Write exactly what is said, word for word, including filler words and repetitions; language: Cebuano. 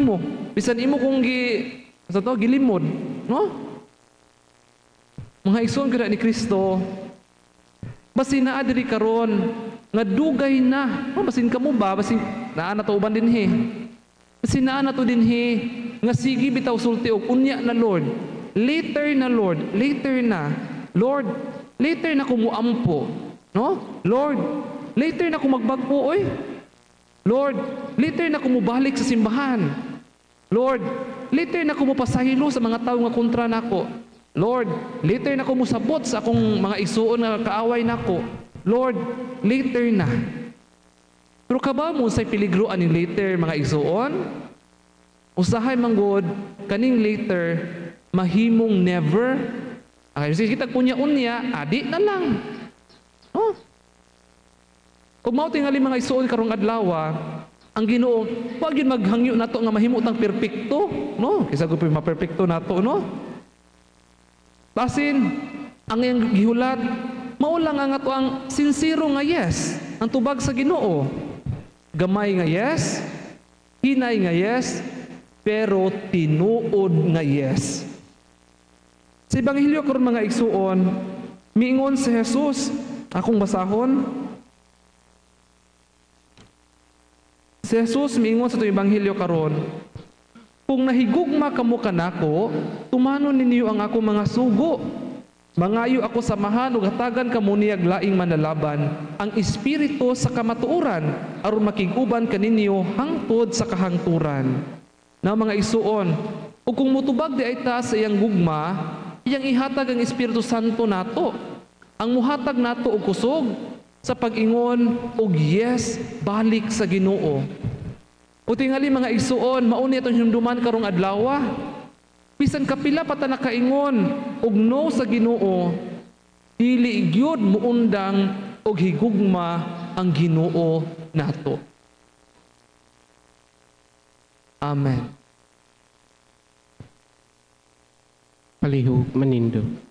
nimo. Bisan imo kung gi sa to gilimod, no? Mga igsoon kada ni Kristo, basin naa diri karon nga dugay na. Oh, basin kamo ba? Basin naa na to uban dinhi. Basin naa na to dinhi nga sige bitaw sulti og unya na, Lord. Later na, Lord, later na. Lord, later na ko muampo. No? Lord, later na ko magbag-o oy. Lord, later na ko mobalik sa simbahan. Lord, later na ko mopasaylo sa mga tawo nga kontra nako. Lord, later na ko mosabot sa akong mga igsuon nga kaaway nako. Lord, later na. Pero kabaw mo sa peligro aning later, mga igsuon? Usahay manggod kaning later mahimong never. Ay, sige kita unya-unya, adi na lang. Oh. Kung mao tingali, mga igsuon, karong adlaw, ang Ginoo, wag yun maghangyo nato nga mahimo tang perpekto, no? Kaysa gud maperpekto nato, no? Basin ang iyang gihulat, mao lang ang ato ang sinsero nga yes, ang tubag sa Ginoo. Gamay nga yes, hinay nga yes, pero tinuod nga yes. Sa Ebanghelyo karon, mga igsuon, miingon si Jesus, akong basahon. Si Jesus miingon sa itong Ebanghelyo karon, "Kung nahigugma kamo kanako, tumanon ninyo ang ako mga sugo. Mangayo ako sa Amahan ug hatagan kamo niyag laing manalaban, ang Espiritu sa kamatuoran, aron makig-uban kaninyo hangtod sa kahangturan." Na mga igsuon, ug kung mutubag di ay ta sa iyang gugma, iyang ihatag ang Espiritu Santo nato. Ang muhatag nato og kusog sa pag-ingon og yes balik sa Ginoo. O tingali, mga igsuon, mauni atong hinumduman karong adlaw. Bisan kapila pa ta nakaingon og no sa Ginoo, dili gyud muundang og higugma ang Ginoo nato. Amen. Palihog manindog.